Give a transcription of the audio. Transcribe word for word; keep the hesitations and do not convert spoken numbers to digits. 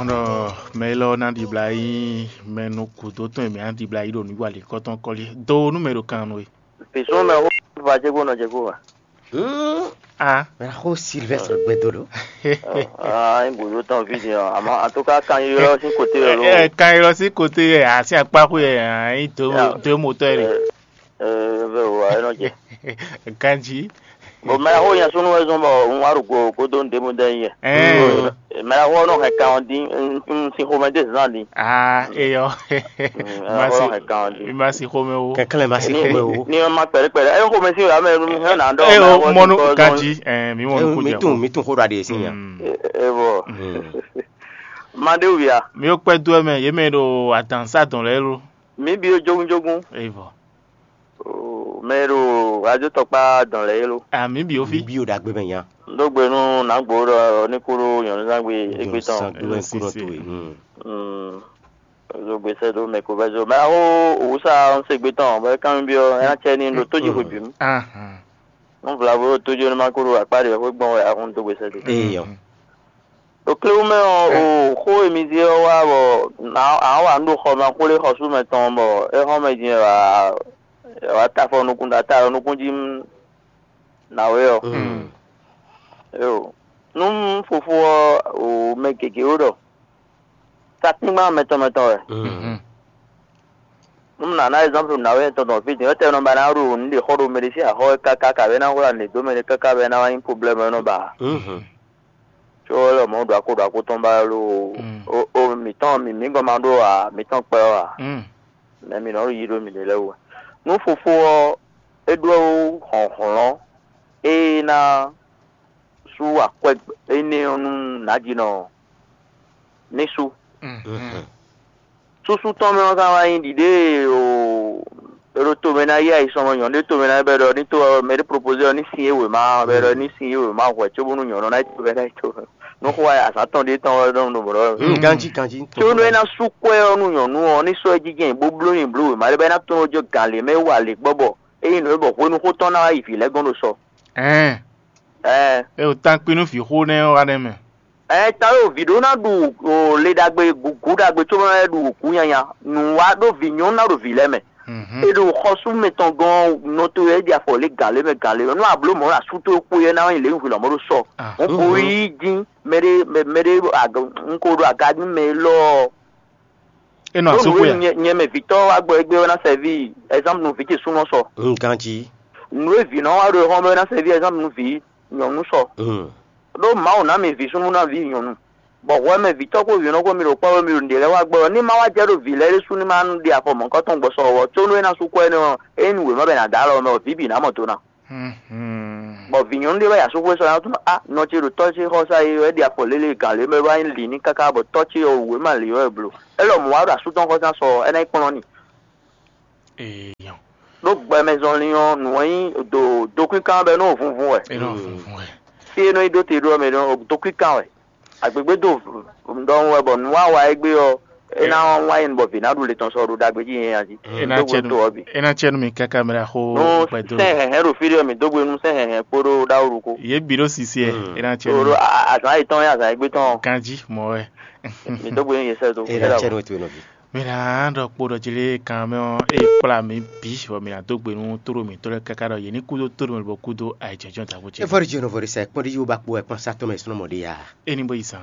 Ɔ, mɛ élɔ́ ná ɖibla yí mɛ nú gǔdo tɔn e mɛ ná ɖibla yí ɖo nǔwiwa lǐnkɔ́ tɔn kɔ́lí. Do nú mɛ ɖo kan nú we. Pěsún mɛ xó va jégbo nɔ jégbo wa. Hmm. Ah. Mɛ xó Sylvestre gbɛdó ɖo. Ah, un gǔdo tɔn ví din ɔ, àmọ́ en tout cas kan ylɔ́ sín côté ɛ ló. Ɛ kan ylɔ́ sín côté ɛ asi akpáxu ɛ ayi dó dó motɔ ɛ. Ɛ ɛ vɛ o ayé nɔ jɛ. Ganji. Bon, mɛ xó yẹn súnú wɛ zɔn bɔ un wá ɖo go godo ɖěbǔ dɛ yɛ. Ɛ. Mɛ xó nɔ hɛn kan ɔ dín, un sin xomɛ dé zan dín. Ah, eyɔ. Mɛ xó nɔ hɛn kan ɔ dín. Mi ma si xomɛ wo. Kɛnklɛn ma si xomɛ wo. Ni ma kpɛɖe kpɛɖe. Ɛ xomɛ si wɛ amɛ hɛn na dɔ. Ɛ o mɔnu ganji. Ɛ mi mɔnu ko jɛ. Mi tun mi tun xó ɖo aɖe si nya. E bɔ. Maɖéwu ya. Mi yóò kpɛ dó ɛ mɛ yě mɛ ɖo adǎnsá dɔn lɛ́ɛ lo. Mi bi ó jógún jógún. Eyvɔ. Mɛ e ɖo radio tɔkpá dɔn lɛ́ɛ é lo. Ami bi ó fi. Bí o ɖagbe mɛ nya. Ɖó gbe nú nǎgbó ɖɔ ní kú ɖó nyɔ̌nuzángbe égbé tɔn. Sangbe wɛ kúrò tó e. Ɖó gbe sɛ́ dó mɛ ko vɛ́ zó mɛ aho òwúsa ń se gbé tɔn bɔ é kán byɔ́ é ná cɛ ní ɖo tó jí xwe bǐ nu. Nú vlavo ɖo tó jí ó ní má kú ɖo akpá ɖě xwé gbɔn wɛ ahun dó gbe sɛ́ dó. Eyɔ. Ɖo kléwú mɛ ɔ́, o xó e mi zé ɔ́ wá bɔ a wa nú ɖo xɔ mɛ xwlé xɔsú mɛ tɔn bɔ é xɔ mɛ din wá wá ta afɔ nukún ɖo ata nukún jí nǎwe ɔ́. Éyo, nú fofó ɔ́ o mɛ gěgé ó ɖɔ takíngban mɛtɔn mɛtɔn wɛ. Nú nǎ ná ɛzɔ́nplu nǎwe tɔn tɔn fí din, étɛ́ nɔ ba ná ɖo nǔ ɖe xɔ ɖo mɛ ɖé sín axɔ wɛ káká kabɛ ná hwlá nǔ dó mɛ ɖé káká bɔ é ná wá nyí problème ɔ́ nɔ ba. Có é lɔ mɔ̌ ɖo akó ɖo akó tɔn ba lo o mǐtɔn mǐ mǐ gɔn ma ɖó ǎ, mǐtɔn kpɛ ɔ́ ǎ. Nɛ̌ mǐ nɔ yi ɖó mǐɖée lɛ́ɛ wú wɛ? Nú fofó ɔ́ é ɖó hlɔ̌nhlɔ́n e ná sú akwɛ́ énɛ́ ɔ́ nú nǎjinɔ ɔ́, ní sú. Súsú tɔn mɛ ɔ́ ka wá nyí ɖiɖée o. È ɖo tomɛ ná yí ayisɔnmɔ nyɔ̌nu ɖé tomɛ ná bɛ ɖɔ ní tó ɔ́ mɛ ɖé propozé ɔ́ ní sin é wěma bɛ ɖɔ ní sin é wěma hwɛ cóbónú nyɔ̌nu ná yi tomɛ ná yi tomɛ. Nú xó wa azǎn tɔn ɖé tɔn wɛ ɖɔ nú ɖo mɔ̌ ɖɔ. Ganjí ganjí. Có nú é ná sú kwɛ́ ɔ́ nú nyɔ̌nu ɔ́ ní sɔ́ ɛ jínjɛ́n bó bló nyi bló wěma ɖé bɔ é ná tɔ́n jɔ gǎn lě mɛ é wa lě gbɔ bɔ é nyí nǔ e bɔ hwenu xó tɔn ná wá yi vǐ lɛ́ɛ gɔ́n ɖo sɔ. Ɛɛ. Ɛɛ. É o tankpin nú vǐ xó nɛ́ ɔ́ wá nɛ́ mɛ. Ɛ ta ɖo vǐ ɖó ná ɖu o le ɖagbe gǔgú ɖagbe cóbɔ ná ɖu gǔ nyanya nǔ wá ɖó vǐ nyɔ́nu ná ɖo vǐ lɛ́ɛ mɛ. E ɖo xɔsú mɛtɔn gɔ́n nɔ towe é ɖi afɔ lě gǎn lě mɛ gǎn lě mɛ nú a blǒ mɔ̌ asú towe kpó yɛ ná wá nyi lě nyí hwilɔ̌mɔ ɖó sɔ. Mɔ̌ ko yí dín mɛ ɖé mɛ ɖé un ko ɖo aga dín mɛ élɔ́. É nɔ asú xwe a? Nyɛ mɛ vǐtɔ́ wá gbɔ égbé ɔ́ ná sɛví ɛzánpu nú vǐ ce súnɔ sɔ. Ganjí. Nǔ e vǐ nɔ wá ɖo é xɔ́n bɔ é ná sɛví ɛzánpu nú vǐ nyɔ̌nu sɔ. Ɖó Mawu ná mi vǐ súnnu ná vǐ nyɔ̌nu, bɔ hwɛ mɛ vǐtɔ́ kpó vǐnɔ kpó mi ɖo kpɔ́ mi ɖo nǔɖé lɛ́ɛ wá gbɔ ɔ́, ní má wá jɛ ɖo vǐ lɛ́ɛ ɖésú ní má ɖe afɔ mɔ̌hunkɔtɔn gbɔ sɔ ɔ́, có nú é ná sú kwɛ́ nɛ́ ɔ́, é nyí nǔ e má bɛ ná dó alɔ mɛ ɔ́, vǐ bǐ ná mɔ do ná. Bɔ vǐ nyɔ̌nu ɖé wɛ yi asúxwé sɔ ná tunɔ a nɔ ce ɖo tɔ́ ce xɔsá yi wɛ ɖi afɔ lélẹ̀ gǎn lě mɛ wá nyí lǐ ní káká bɔ tɔ́ ce ɔ́ wǔ é má lǐ wɛ bló. É lɔ mɔ̌ wá ɖo asú tɔn xɔsá sɔ ɔ́, é ná yi kplɔ́n n'i. Ɖó gbɛmɛ zɔnlin ɔ́, nǔ e nyí do dokwínkán bɛ nɔ vunvun wɛ. Fí e nɔ yi ɖó te ɖó ɔ́ mɛ nɔ dokwínkán wɛ. Agbègbè do ɖɔhun wɛ bɔ nǔ wa wa égbé ɔ́, é ná wá nyí bɔ vǐ ná ɖu le tɔn sɔ ɖo ɖagbe jí yɛn jí. É ná cɛ nú mi káká mɛ ɖaxó gbɛdó. Sɛn hɛhɛn ɖo fí ɖé ɔ́, mǐ dó gbe nú sɛn hɛhɛn kpódó ɖaxó ɖokpó. Yě bǐ ɖó sisi ɛ, é ná cɛ nú mi. Azǎn yětɔn nyí azǎn égbé tɔn. Ganjí mɔ̌ wɛ. Mǐ dó gbe nú yě sɛ́ dó. É ná cɛ nú we towe nɔví. Mǐ ná ɖɔ kpo ɖɔ jí lé kan mɛ ɔ́, é kplá mǐ bǐ, bɔ mǐ ná dó gbe nú tóɖó mǐtɔn lɛ́ɛ káká ɖɔ yě ní kú dó tóɖó mɛ lobɔ kú dó ayǐjínjɔ́n ɖaxó ce. Efɔ́ɖi Jihɔnɔvɔ ɖe sa kpɔ́n ɖi yí wo ba kpo wɛ kpɔ́n sátɔ́ mɛ súnɔ mɔ ɖé ya. É ní bó yi zan.